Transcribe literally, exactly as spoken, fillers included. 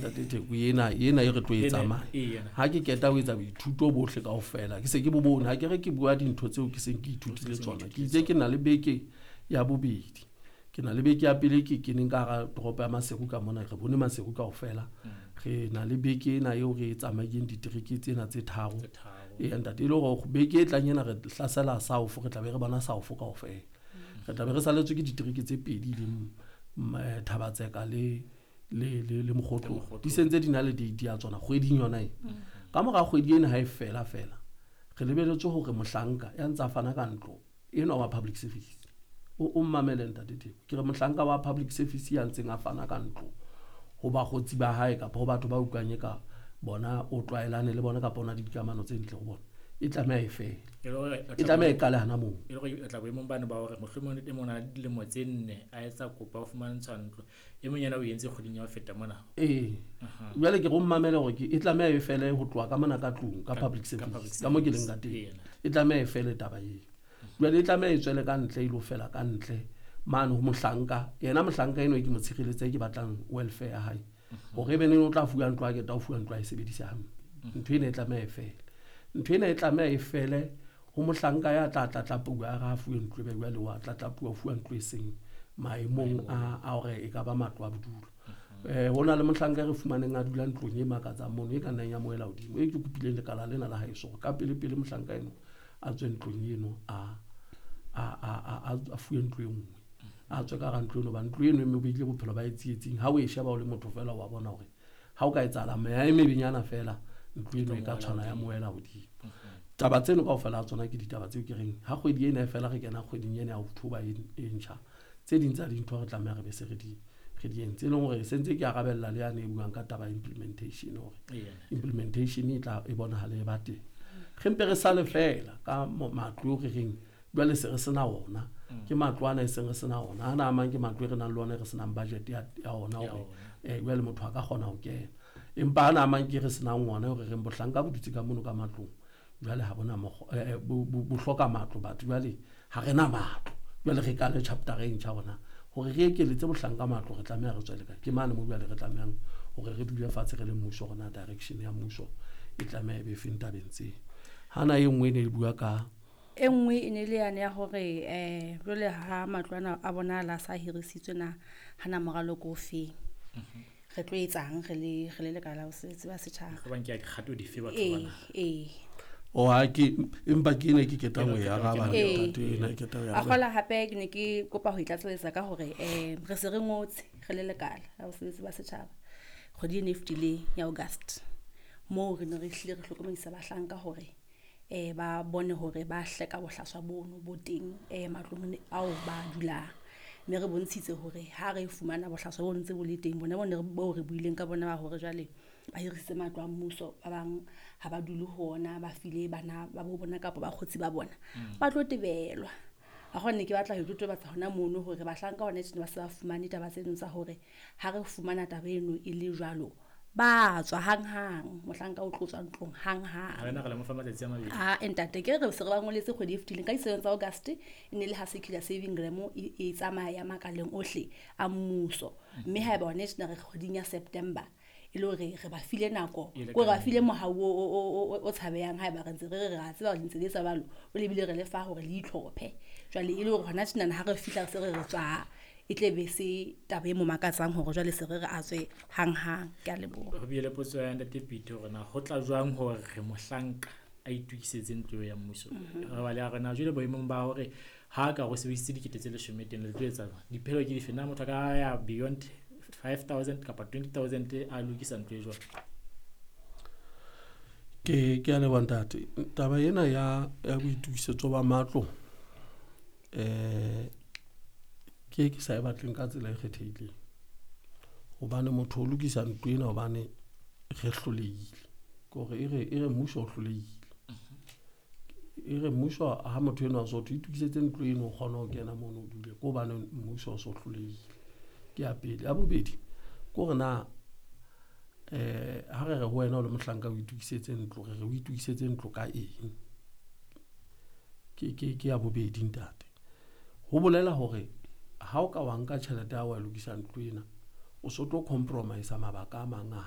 ntate Theko ena ena e re tlo e Ena- tsamaya ee, yena. Ha ke keta ho etsa boithuto bohle kaofela, ke se ke bo bone. Ha ke re ke bua dintho tseo ke seng ke ithutile tsona, ke itse ke na le beke ya bobedi, ke na le beke ya pele ke keneng ka hara toropo ya Maseru ka mona, re bone Maseru kaofela. Re na le beke ena eo re e tsamaileng ditereke tsena tse tharo. Tse tharo. Ee ntate, e le hore beke e tlang ena re hlasela South, re tla be re bona South kaofela. Re tla be re saletswe ke ditereke tse pedi, leng mm, eh, Thabatseka le le le le Mokgotlong. Mokgotlong. Di sentse di na le date ya tsona kgweding yona e. Ka mora kgwedi ena ha e fela fela, re lebeletse hore mohlanka ya ntsa fana ka ntlo enwa wa public service, o o mmamele ntate Theko, ke re mohlanka wa public service ya ntseng a fana ka ntlo ho bakgotsi ba hae kapa ho batho ba utlwang e ka bona o tlwaelane le bona kapa o na le dikamano tse ntle ho bona, e tlameha e fele. E le hore E tlameha e qale hana moo. E le hore o tla boemong bane ba hore mohlomong e mong o na le dilemo tse nne a etsa kopo ya ho fumantshwa ntlo, e mong yena o entse kgweding ya ho feta mona. Ee, jwale ke re o mmamele hore ke e tlameha e fele ho tloha ka mona ka tlung ka public Ka service, public ka mo ke leng ka service. teng. Ee, yena. E tlameha e fele taba eo. Jwale e tlameha e tswele ka ntle, e lo fela ka ntle mane ho mohlanka yena, mohlanka eno e ke mo tshireletse, ke batlang welfare ya hae, hore ebe neng o tla fuwa ntlo, a keta o fuwa ntlo a e sebedise hampe. Ntho ena e tlameha e fele, ntho ena e tlameha e fele ho mohlanka ya tla tlatlapuwa, a re a fuwe ntlo, ebe jwale wa tlatlapuwa, o fuwa ntlo e seng maemong a a hore e ka ba matlo a bodulo. um ho na le mohlanka e re fumaneng a dula ntlong e makatsang mono, e ka nnang ya moela hodimo, e ke kopileng lekala lena la haeso hore ka pele pele mohlanka eno a tswe ntlong eno, a a a a a- a fuwe ntlo e nngwe, a tswe ka hara ntlo eno, ba ntlo eno e mo beile bophelo ba e tsietsing. Ha o e sheba o le motho fela, wa bona hore ha o ka etsahala meya e mebenyana fela, ntlo eno e ka tshwana ya moela hodimo. Taba tseno kaofela ha tsona ke ditaba tseo ke reng ha kgwedi ena e fela, re kena kgweding ena ya October e e ntjha, tse ding tsa dintho re tlameha re be se re di re di entse, e leng hore sentse ke arabella le yane e buang ka taba ya implementation, hore Ee, yena. implementation e tla e bonahale e ba teng. Re mpe re sale fela ka mo- matlo eo re reng jwale se re sena ona, ke matlo ana e seng re sena ona, ana a mang ke matlo e re nang le ona e re senang budget ya ya ona Ya hore eh jwale motho a ka kgona ho kena, empa ana a mang ke re senang ona, hore reng bohlanka bo dutse ka mono ka matlong, jwale ha bona mokgwa, eh, eh, bo bo- bo hloka matlo batho. Jwale ha re na matlo, jwale re kale chapter e ntjha hona hore re ekeletse bohlanka matlo, re tlameha re tswele kae? Ke mane mo jwale re tlamehang hore re dule fatshe re le mmuso, hore na direction ya mmuso e tlameha e be feng tabeng tseo. Hana e nngwe e ne e bua ka E nngwe e ne le yane ya hore um jwale ha matlo ana a bonahala a sa hirisitswe, na hana moralo ke o feng, re tlo etsang re le re le lekala la bosebetsi ba setjhaba? Ba nke dikgato dife batho Ee. bana? Ee. O ha ke empa ke ena ke ketang ho e araba. Ee. Ntate, ena ke ketang ho e A araba. kgola hape ke ne ke kopa ho itlatseletsa ka hore um re se re ngotse re le lekala la bosebetsi ba setjhaba kgwedi ena e fetileng ya August, moo re ne re hlile re hlokomedisa bahlanka hore um ba bone hore ba hleka bohlaswa bono bo teng um matlong ao ba dulang, mme re bontshitse hore ha re fumana bohlaswa bo ntse bo le teng, bona bone boo re buileng ka bona ba hore jwale ba hirisitse matlo a mmuso, ba bang ha ba dule ho ona, ba file bana ba bo bona kapa bakgotsi ba bona, ba tlo tebelwa. A gone ke batla ho totobatsa hona mono hore bahlanka hona tjena ba se ba fumane taba tseno tsa hore ha re fumana taba eno e le jwalo, ba tswa hanghang, mohlanka o tlo tswa ntlong hanghang. Ha rena re le mo fa matsatsi a mabedi. A ntate, ke re se re ba ngoletse kgwedi e fetileng ka di-seven tsa August, e ne le ha circular saving gram e e tsamaya makaleng ohle a mmuso, mme haeba hona tjena re kgweding ya September, e le hore re ba file nako, E le ko re ba ka file mohau o o o o o tshabehang. Haeba re ntse re re re a tseba hore le ntse le etsa jwalo, o lebile re le fa hore le itlhophe. Jwale e le hore hona tjenana ha re fihla re se re re tswa, e tle be se taba e mo makatsang hore jwale se re re a tswe hanghang. Ke a leboha. Ho bile le potso ya ntate Pete hore na ho tla jwang hore mohlanka a itokisetse ntlo eo ya mmuso. Re ba le a re na jwale boemong ba hore ha ka go sebedisitse dikete tse leshome teng, le tlo etsa jwang? Diphelo ke dife? Na motho a ka ya beyond five thousand kapa twenty thousand a lokisa ntlo e jwang? ke ke a leboha ntate. Taba ena ya ya boitokisetso ba matlo eh ke ke sa e batleng ka tsela e kgethehileng, hobane motho o lokisa ntlo ena hobane re hlolehile, ke hore e re e re mmuso o hlolehile, e re mmuso ha motho enwa o so thwe itokisetse ntlo eno, o kgone ho kena mono o dule, ke hobane mmuso o so hlolehile. Ke ya pele. Ya bobedi ke hore na eh ha re re ho wena o le mohlanka o itokisetse ntlo, re re o itokisetse ntlo ka eng? ke ke ke ya bobedi ntate. Ho bolela hore ha o ka wa nka tjhelete ya hao wa lokisa ntlo ena, o so tlo compromise mabaka a mang a hao.